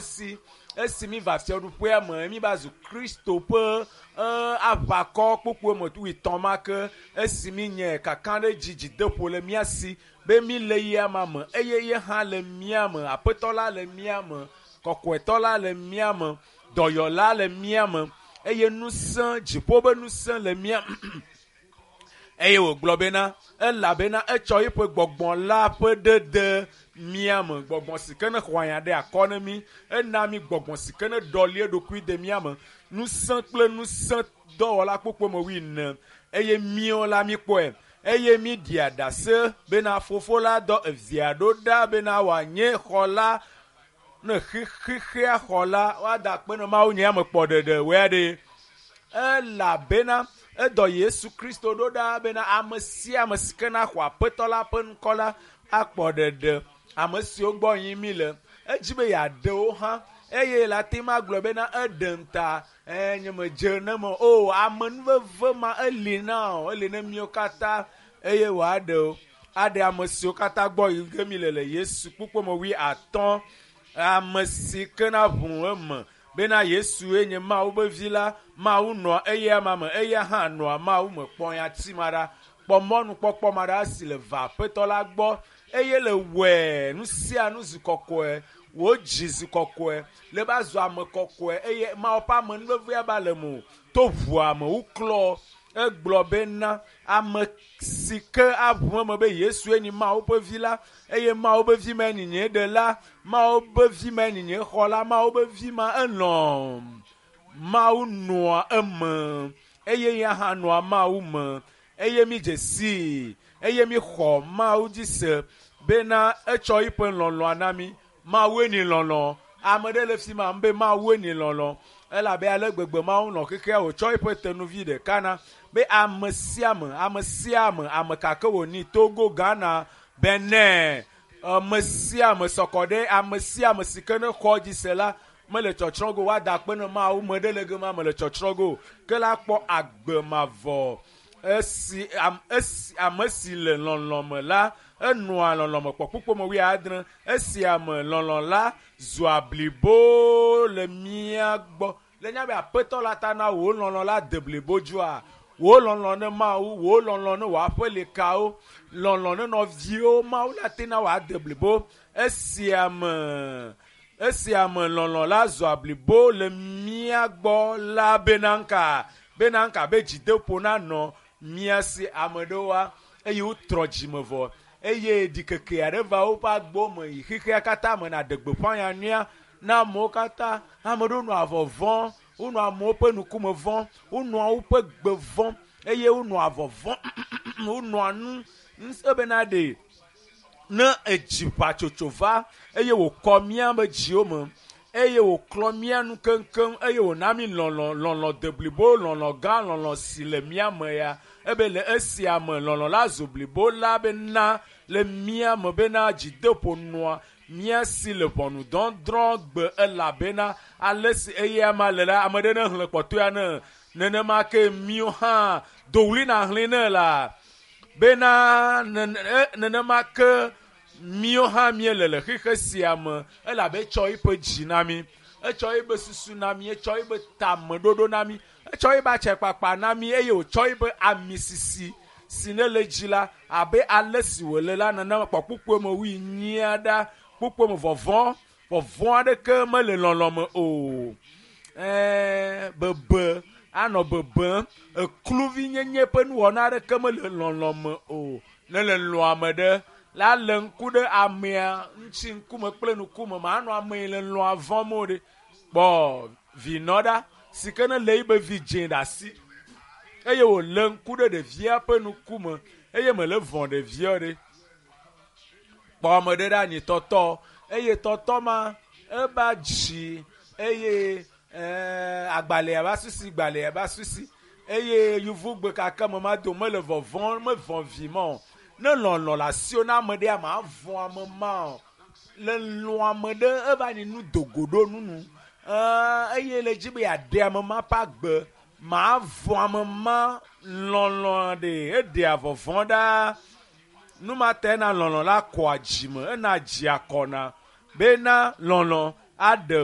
Si esi mi va fiaɖuƒea me, mi va zu Kristo ƒe aʋakɔ kpokpoe me wuietɔ̃ ma ke. Esi mi nye kakaɖedzi dzideƒo le mía si be mi le yia ma me eye ye hã le mía me. Aƒetɔ la le mía me, kɔkɔetɔ la le mía me, dɔyɔla le mía me eye ŋusẽ, dziƒo ƒe ŋusẽ le mía eye wògblɔ bena, elabena etsɔ eƒe gbɔgbɔ la ƒe ɖe de mía me. Gbɔgbɔ si ke ne xɔ anya ɖe akɔ ne mí, ena mí gbɔgbɔ si ke ne ɖɔli eɖokui de mía me. Ŋusẽ kple ŋusẽ dɔwɔla kpokpo me wuiene eye míwo la míkpɔe eye míɖia ɖase bena fofo la dɔ evia ɖo ɖa bena wòanye xɔla ne xexea xɔla woada akpe ne Mawu nye ame kpɔ ɖeɖe wòya ɖe. Elabena edɔ Yesu Kristo ɖo ɖa bena ame sia ame si ke na xɔ Aƒetɔ la ƒe ŋkɔ la akpɔ ɖeɖe. Ame siwo gbɔ yim mi le, edzi be yeaɖe wo hã eye le ate ŋu agblɔ bena eɖe ŋuta nye medze ne me o. Amenuveve ma eli na o, eli ne míwo katã eye wòaɖe wo. Aɖe ame siwo katã gbɔ yi ge mi le le Yesu kpukpɔ me 50. Ame si ke na ʋu eme bena Yesue nye Mawu ƒe vi la, Mawu nɔa eya ma me, eya hã nɔa Mawu me. Kpɔ nyati ma ɖa, kpɔ mɔnukpɔkpɔ ma ɖa si le va Aƒetɔ la gbɔ eye le wɔe nu sia nu zu kɔkɔe, wò dzi zu kɔkɔe, le va zu ame kɔkɔe eye Mawu ƒe amenuvevea va le me o. To ʋua me woklɔ. Egblɔ bena ame si ke aʋu eme be Yesue nye Mawu ƒe vi la eye Mawu ƒe vi ma nye nye ɖela, Mawu ƒe vi ma nye nye xɔla, Mawu ƒe vi ma elɔ̃. Mawu nɔa eme eye ya hã nɔa Mawu me eye mi dze sii eye mi xɔ Mawu dzi se bena etsɔ eƒe lɔlɔ̃a na mi. Mawue ni lɔlɔ̃. Ame ɖe le fi ma be Mawue ni lɔlɔ̃. Elabe ale gbegbe Mawu nɔ xexea wòtsɔ eƒe tenuvi ɖeka na be ame sia ame, ame sia ame, ame kake wònyi, Togo, Ghana, Benin, ame sia ame sɔkɔ ɖe ame sia ame si ke ne xɔ dzi se la mele tsɔtsrɔ̃ go. Woada akpe ne Mawu me ɖe le gema mele tsɔtsrɔ̃ go. Ke la kpɔ agbe mavɔ. Esi esi ame si le lɔlɔ̃ me la, enɔa lɔlɔ̃ me kpɔ kpukpɔ me 70. Esi ame lɔlɔ̃ la zua blibo le mía gbɔ. Le nya be Aƒetɔ la ta na wò lɔlɔ̃ la de blibo dzoa. Wò lɔlɔ̃ ne Mawu, wò lɔlɔ̃ ne wò aƒelikawo, lɔlɔ̃ ne nɔviwo, Mawu la te na wòade blibo. Esi ame esi ame lɔlɔ̃ la zua blibo le mía gbɔ la bena ŋka bena ŋka be dzideƒo nanɔ mía si. Ame ɖewoa eye wotrɔ dzime vɔ eye ɖikeke aɖe va woƒe agbo me yi xexea katã me na ɖe gbeƒã ya nyuia na amewo katã. Ame ɖewo nɔa vɔvɔ̃, wonɔa amewo ƒe ŋkume vɔ̃m, wonɔa woƒe gbe vɔ̃m eye wonɔa vɔvɔ̃m, wonɔa nu ebena ɖe ne edzi ʋatsotso va eye wòkɔ mía me dziwo me eye wòklɔ mía nu keŋkeŋ eye wòna mí lɔlɔ̃, lɔlɔ̃ deblibo, lɔlɔ̃ gã, lɔlɔ̃ si le mía me ya. Ebe le esia me lɔlɔ̃ la zu blibo la bena le mía me bena dzideƒo nɔa mía si le ʋɔnudɔdrɔ̃ gbe elabena ale si eya ma le la, ame ɖe ne xlẽ kpɔtɔea ne nenema ke míwo hã dowli na xlẽ ne la bena nenema ke míwo hã míele le xexe sia me elabe etsɔ eƒe dzi na mí, etsɔ eƒe susu na mí, etsɔ eƒe tameɖoɖo na mí, etsɔ eƒe atsekpakpa na mí eye wòtsɔ eƒe amisisi si ne le dzi la abe ale si wòle la nenema kpɔ kpukpue me 40 ɖa. Kpukpue me vɔvɔ̃, vɔvɔ̃ aɖeke mele lɔlɔ̃ me o. Bebe anɔ bebem, ekluvinyenye ƒe nuwɔna aɖeke mele lɔlɔ̃ me o. Ne le lɔ̃ ame ɖe la le ŋku ɖe amea ŋuti ŋkume kple ŋkume manɔ ame yi le lɔ̃a vɔ̃m o ɖe. Kpɔ vinɔ ɖa si ke ne le yibe vi dzẽ ɖe asi eye wòle ŋku ɖe ɖevia ƒe ŋkume eye mele vɔ̃ ɖevia ɖe. Kpɔ ame ɖe ɖe anyi tɔtɔ eye tɔtɔ ma eba dzi eye agbalẽa va susi, gbalẽa va susi eye yevugbe kake me ma do mele vɔvɔ̃, mevɔ̃ vi ma o. Ne lɔlɔ̃ le asiwò na ame ɖea, mavɔ̃ ame ma o. Le lɔ̃ ame ɖe eva nyi nu dogo ɖo nunu eye le dzi be yeaɖe ame ma ƒe agbe, mavɔ̃ ame ma. Lɔlɔ̃ ɖe eɖea vɔvɔ̃ ɖa. Nu ma ta ena lɔlɔ̃ la kɔa dzime, ena dzia kɔna bena lɔlɔ̃ aɖe.